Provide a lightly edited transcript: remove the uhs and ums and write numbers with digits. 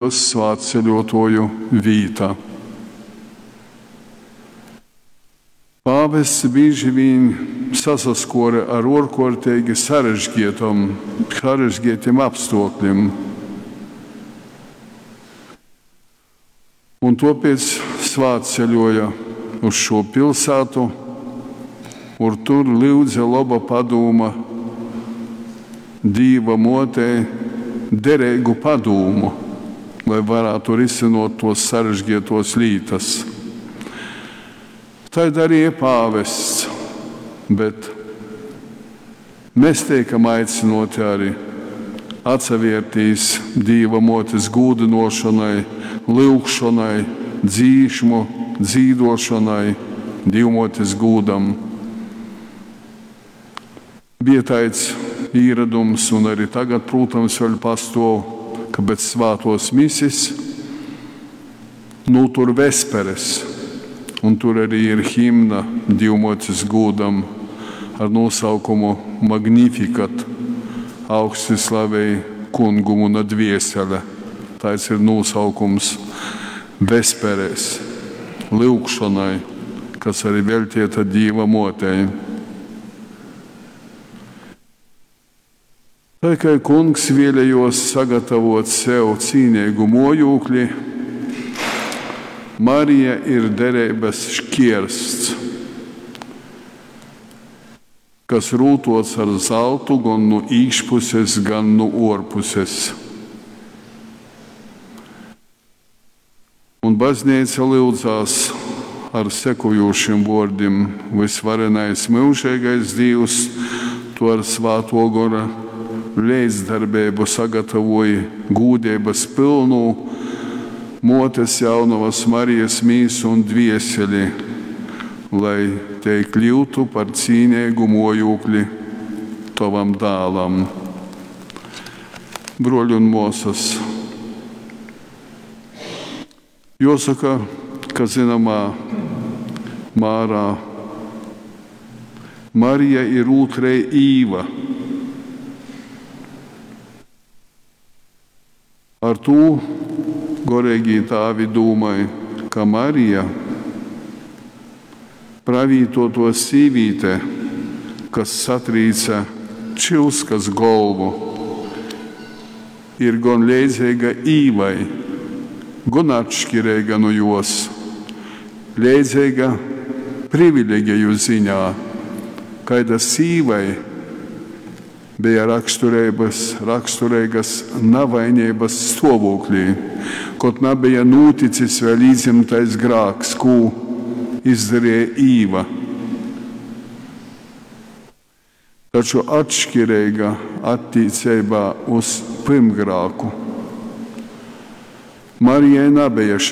Svātceļuotuoju vīta. Pāvests bīži viņ sasaskuore ar uorkuorteigi sarežgietim apstuoklim, un tuopiec svātceļuoja uz šū pilsātu, un tur lyudze loba padūma Dīva muotei dereigu padūmu, lai varātu risynuot tuos sarežgietuos lītas. Tai darīja pāvests, bet mēs teikam aicynuoti arī atsavērtīs Dīva muotes gūdynuošonai, lyugšonai, dzīšmu dzīduošonai, Dīvmuotes gūdam. Bija taids īradums, un arī tagad, prūtams, vēļ pastuov, ka pēc svātuos misis nūtur vesperes, un tur arī ir himna Dīvmuotes gūdam ar nosaukumu Magnificat, augsti slavej kungu muna dviesele. Taids ir nosaukums vesperēs, lyugšonai, kas arī veltieta Dīva muotei. Tai kai kungs vēlējos sagatavot sev cīnīgu mojūkli, Marija ir derības šķiersts, kas rūtots ar zeltu gan no iekšpuses, gan no ārpuses. Un baznīca lyudzās ar sekojošiem vārdiem: Visvarenais mūžīgais Dievs, tu ar Svāto Gora līdzdarbību sagatavoji gūdības pilnu motes jaunavas Marijas mīsu un dvieseli, lai te kļūtu par cīnīgu mojūkli tavam dēlam. Broļi un mosas, jāsaka, ka zināmā mērā Marija ir otrei Īva. Ar to gorīgi tāvi domāja, ka Marija, pravītoto sīvīte, kas satrīca čilskas galvu, ir gan leidzīga Īvai, gan atšķirīga no jos, leidzīga privileģiju ziņā, kaida sīvai bija raksturīgas navainības stāvoklī, kaut nebija noticis vēl iedzimtais grāks, ko izdarīja Īva. Taču atšķirīga attiecībā uz pirmgrāku. Marijai nebija šai.